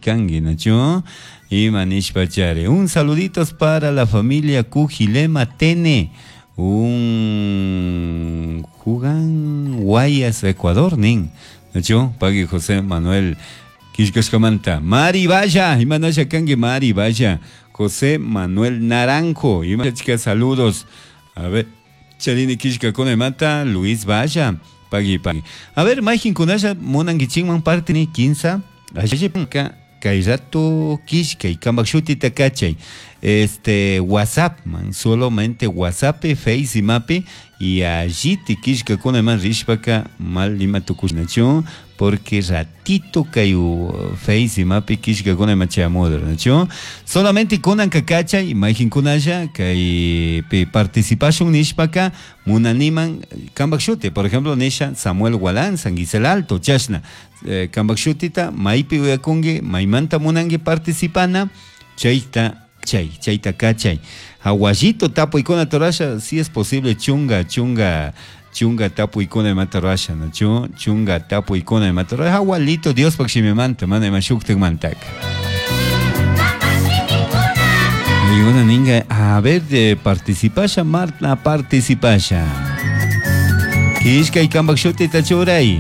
cangui, nachu? Ima nishpachari. Un saluditos para la familia Cujilema Tene. Un Jugan Guayas, Ecuador, nin. Nachu? Pagui José Manuel Quillcashcamanta. Mari Vaya, imanasha cangui Mari Vaya. José Manuel Naranjo, ima saludos. A ver, Charini quillcakuna imata Luis Vaya. Pagui, pagui. A ver, mayqinkunalla munankichikman partini kinsa allipanka kay rato killkay kambak shutita kachay este WhatsApp man solamente WhatsApp Face imapi y alliti killkakuna iman rishpaka mal ima tukushnachu porque ratito kay Face imapi killkakuna ima chayamudor nachu solamente kunanka kachay mayqinkunalla kaypi participashun nishpaka munaniman kambak shuti por ejemplo nisha Samuel Gualán San Gisel Alto chashna eh, kambak shutita maypi uyakunki maymanta munanki participana chayta chay chayta kachay hawallito tapuykuna rurasha si es posible chunga chunga chunga tapuykuna imata rurasha nachu chunga tapuykuna imata rurasha hawalito Diospak shimimanta mana ima shuktikmantaka y una ninga a ver de participasha Marta participasha Kishkay kambak shutita churay.